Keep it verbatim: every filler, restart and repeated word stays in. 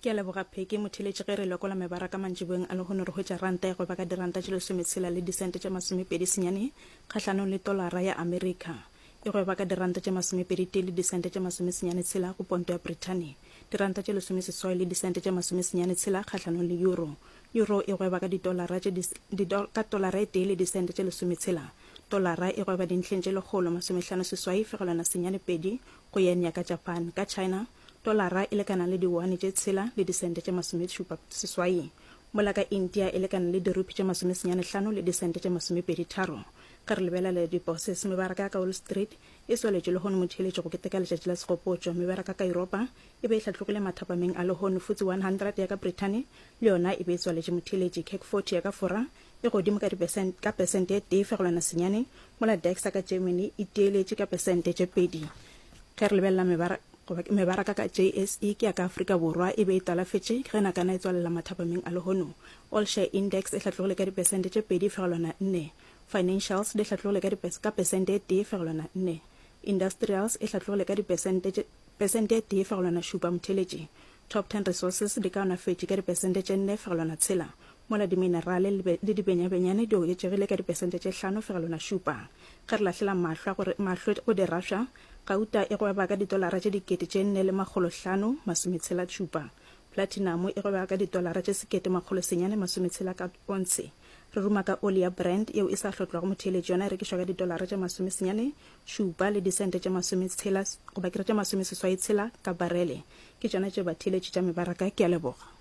Ke a leboga Pheke. Motheeletši ge re lekola mebaraka mantšiboeng a lehono re hwetša ranta e gweba ka diranta tše lesometshela le disente tše masomepedi senyane kgahlanong le tolara ya Amerika. E gweba ka diranta tše masomepedi tee le disente tše masomesenyane tshela go ponto ya Brithani. Diranta tše lesomeseswai le disente tše masomesenyane tshela kgahlanong le euro. Euro e gweba ka ditolara tše ka tolara e tee le disente tše lesometshela. Tolara e gweba dintlheng tše lekgolo masomehlano seswai fegelwana senyane pedi go yen ya ka Japan. Ka China, tolara e lekana le diwane tše tshela le disente tše masomešupa seswai, mola ka India e lekana le dirupi tše masomesenyane hlano le disente tše masomepedi tharo. Ge re lebelela diposes, mebaraka ya ka Wall Street e tswaletšwe lehono motheeletši go keteka letšatši la segopotšo. Mebaraka ka Yuropa e be e hlatlogile mathapameng a lehono. F T S E one hundred ya ka Brithani le yona e be e tswaletše motheeletši. CAC forty ya ka Fora e godimo ka ka pesente e tee fegelwana senyane, mola DAX ya ka Germany e tieletše ka pesente tše pedi. Ge re lebelela mebaraka ka J S E ke ya ka Afrika Borwa e be e talafetše ge nakana e tswalela mathapameng a lehono. All Share Index e hlatlogile ka dipesente tše pedi fegelwana nne. Financials di hlatlogile ka ka pesente e tee fegelwana nne. Industrials e hlatlogile ka dipesente pesente e tee fegelwana šupa motheeletši. Top ten Resources di kaonafetše ka dipesente tše nne fegelwana tshela, mola diminerale le dibenyabenyane di oketšegile ka dipesente tše hlano fegelwana šupa. Ge re lahlela mahlo go dirašwa, gauta e gweba ka ditolara tše dikete tše nne le makgolo hlano masometshela šupa. Platinum e gweba ka ditolara tše sekete makgolo senyane masometshela ka ontshe. Re ruma ka oli ya Brent yeo e sa hlotlwago motheeletši, yona e rekišwa ka ditolara tše masomesenyane šupa le disente tše masometshela goba ke re tše masomeseswai tshela ka barele. Ke tšona tše batheeletši tša mebaraka, ke a leboga.